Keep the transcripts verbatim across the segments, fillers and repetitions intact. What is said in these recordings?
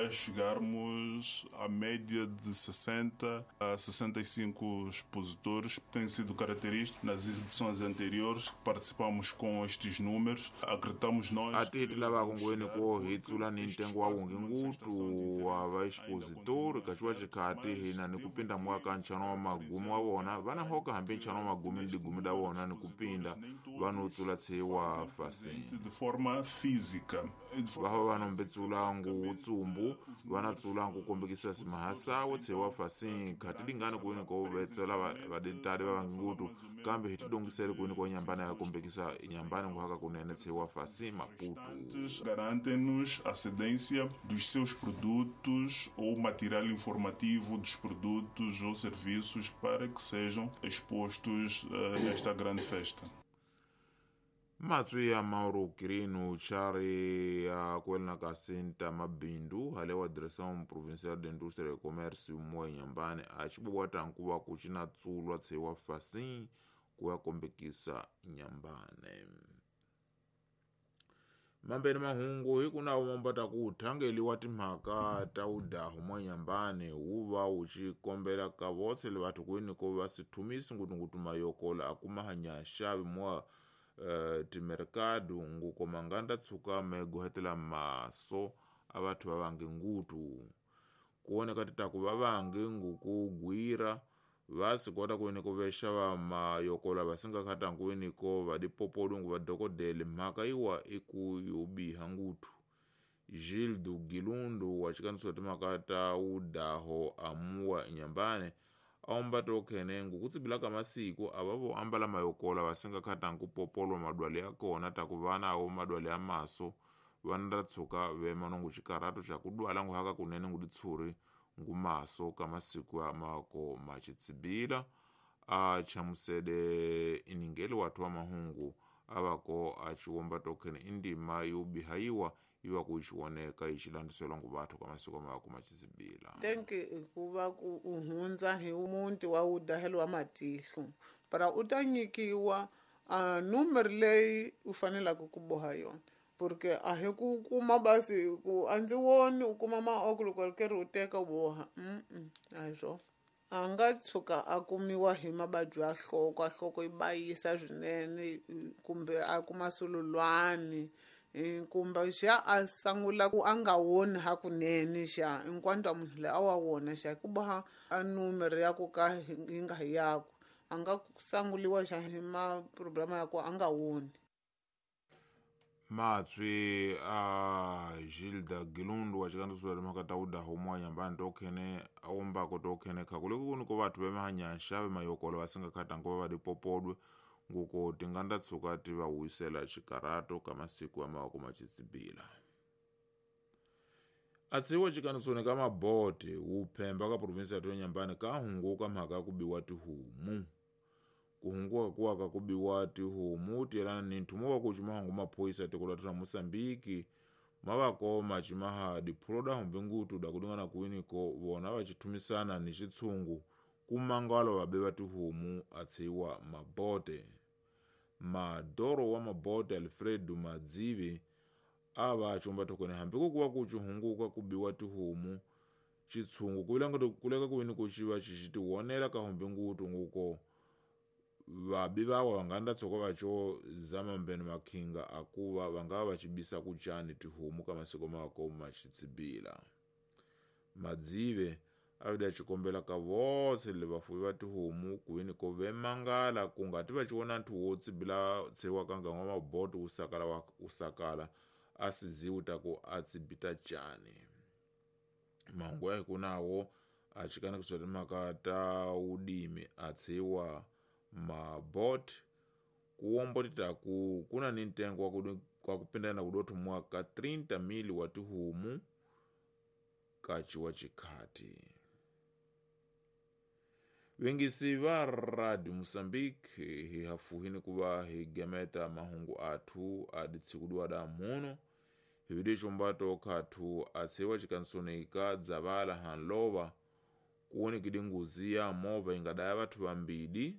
A chegarmos à média de sessenta a sessenta e cinco expositores, tem sido característico. Nas edições anteriores participamos com estes números, acreditamos nós. Atiti lava kungweni ko hi tsula ni ntengo wa wungi ngutu wa vaexpositori kaxiwa xikhati hina ni kupinda mwaka nchano wa magumu wa vona vana hoka hambi nchano wa magumu ni digumi da vona ni kupinda vano tsula tshiwa fasini de forma física. Vava vanombetsula ngu tsumbu vana tsula ngu kombekisa simahasawo tshiwa fasini khati lingani kuini ko vetsela vaditali va vangutu kambe hi tidongisele kuini ko nyambana ya kombekisa nyambana ngu haka kunene tshiwa fasini Maputo. Garantem-nos a cedência dos seus produtos ou material informativo dos produtos ou serviços para que sejam expostos uh, nesta grande festa. Matwi ya Mauro Quirino Chari ya kwelna ka Sinta Mabindu hale wa Direção Provincial de Indústria e Comércio moa Inhambane a xibobwata nkuva ku xina tsulwa tshiwa fasin ku ya kombekisa Inhambane. Mambeni mahungu hi kuna wombata ku thangeliwa timhaka ta udahu mwa Inhambane wu va wu xi kombela ka votse le vathu kwini ko va sithumisi ngutungutu mayokola a kuma hanya xavi mwa Uh, timerkado nguko manganda tsuka megohetela maso a vathu va vange ngutu kuoneka titaku va vange nguku gwira va sikota kuini ku vexa va mayokola va singa khata nkuini ko va dipopolungu va dokodele mhaka iwa iku yo biha ngutu. Gildo Gilundu wa xikaniso timhaka ta udaho amuwa Inhambane aomba tokhene ngukutsibila ka masiku ava vo ambala mayokola va singa khata nkupopolwa madwale ya kona taku vana awo madwale ya maso vana ra tshuka vema nongu xikarato xa ku dwala ngu haka kunene ngu ditshuri ngu maso ka masiku ya mako maxitsibila a chamusede iningeli wathu wa mahungu avako a xiwomba tokhene indima yo bihayiwa iwa ku xiwoneka yi xilandziselwa ngu vathu ka masiku mako maxitsibila. Tenki hikuva ku u hundza hi muti wa wudahelo wa matihlo para u ta nyikiwa a numero leyi u fanelaka ku boha yona porque a hi ku kuma basi ku a ndzi voni u kuma maoko loko ri karhi u teka u boha mm a hi swona. A nga tshuka a kumiwa hi mavabyi ya nhloko, nhloko yi bayisa swinene kumbe a kuma sululwani kumbe xa a sungula ku a nga woni hakunene xa hinkwato munhu loyi a wa wona xa ku boha a numero ya ku ka yi nga hi yakwe a nga sanguliwa xa hi ma-program ya ku a nga woni. Matswi a Gilda Gilundu wa xikandziso timhaka ta udahu mwa Inhambane tokhene awombako tokhene khakule kuni ko vathu vemahanya xave mayokolo va singa khata nkova va dipopodwe nguko tinganda tsuka ti va wisela xikarato ka masiku ya mawako maxitsibila. Atsiwa xikanisoni ka mabote wu phemba ka provinsi ya Inhambane ka hunguka mhaka ya ku biwa tihomu. Kuhunguka kuwaka ku biwa tihomu tiyelana ni nthumo wa ku cimahangu maphoyisa tiko la ra Mosambiki mavako macimaha diphulo humbe ngutu da kudingana kuwiniko vona va xithumisana ni xitshungu kumangalo vabe va tihomu a tshiwa mabote. Madoro wa mabote Alfredo Madzivi a va xomba thokone hambi ku kuva ku xihunguka ku biwa tihomu xitshungu kuleka kuwiniko xi va xi xi tiwonela ka humbe ngutu nguko vabi vawa vanganda tsoko vacho zama mbene makhinga akuva vangava vachibisa kuchani tihomu ka masiko mako maxitsibila. Madzive avida xikombela ka votse le vafuwi va tihomu kuini ko vemangala ku nga ti va xiwona nthu wo tsibila tshiwa ka nganga wa maboto wu sakala wa wu sakala a siziwi ta ku a tsibita chani. Mahungu ya hi ku nawo a xikanekiswa timhaka ta wudimi a tshiwa mabot kuwombotita ku kuna ni ntengo wa ku wa kupindana kudothomwa ka trinta mil wa tihomu ka ciwa xikhati. Vengisi va Radio Mozambique hi hafuhini ku va hi gemeta mahungu athu a ditshikudiwa da muno hi vide xombato khathu a tshiwa xikansoni ka dzavala hanlova kuonekile nguzi ya movha yi nga daya vathu vambili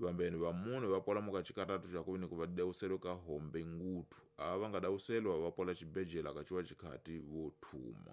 vambeni va mune va pola muka xikaratu xa ku ku va dawuselwe ka hombe ngutu ava va nga dawuselwa va pola xibejela ka ciwa xikhati vo thuma.